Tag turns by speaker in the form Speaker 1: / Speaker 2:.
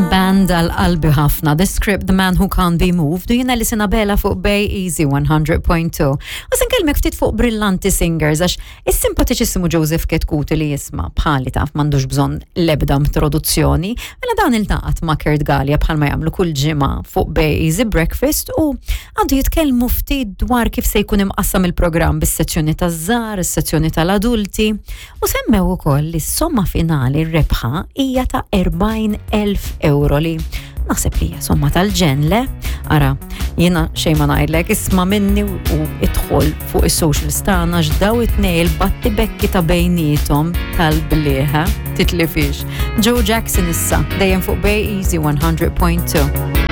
Speaker 1: Band għal qalbi ħafna, The Script, The Man Who Can't Be Moved, u jiena li Sinabela fuq Bay Easy 100.2. U se nkellmek ftit fuq Brillanti Singers, għax is-simpatiċissimu Joseph Ketkuti li jisma bħali taf m'għandux bżonn l-ebda introduzzjoni, mela dan iltaqat ma' Kurt Galea bħalma jagħmlu kull ġimgħa fuq Bay Easy Breakfast u għandu jitkellmu ftit dwar kif se jkun imqassam il-programm bis-sezzjoni taż-żgħar, is-sezzjoni tal-adulti. U semmew ukoll li s-somma finali r-rebħa hija ta' 40,000 euro li naħseb li hija somma tal-ġen le. Ara, jiena xejn ma ngħidlek, isma' minni u idħol fuq is-socials tagħna x'daw it-tnej il-batti bekki ta' bejniethom tal-blieħa titlifix. Joe Jackson issa dejjem fuq Bay Easy 100.2.